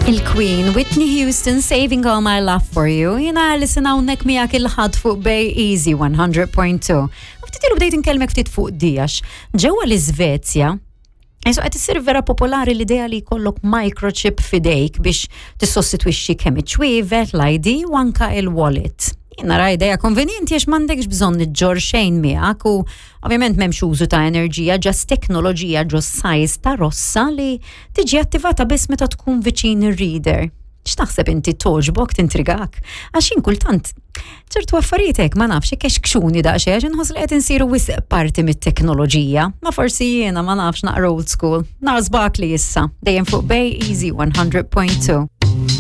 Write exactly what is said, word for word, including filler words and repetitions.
Il-Queen Whitney Houston, "Saving All My Love For You". Jiena Alison, hawnhekk miegħek il-Ħadd fuq Bay Easy one hundred point two. U ftit ilu bdejt inkellmek ftit fuq dijax. Ġewwa l-Iżvezja, Isu qed issir vera popolari l-idea li jkollok microchip f'idejk biex tissostitwixxi kemm iċ-ċwievet, l-I D u anka il-wallet. Jien nara idea konvenjenti għax m'għandekx bżonn iġġor xejn miegħek u ovvjament m'hemmx użu ta' enerġija, just teknoloġija ġo size ta' rossa li tiġi attivata biss meta tkun viċin ir-reader. X'taħseb inti, togħġbok, tintrigak? Għax jien kultant ċertu affarijiet hekk, ma nafx, ikexkxuni daqsxejn għax inħoss li qed insiru wisq parti mit-teknoloġija. Ma forsi jiena, ma nafx, naqra old school. Nażbak li issa dejjem fuq Bay Easy one hundred point two.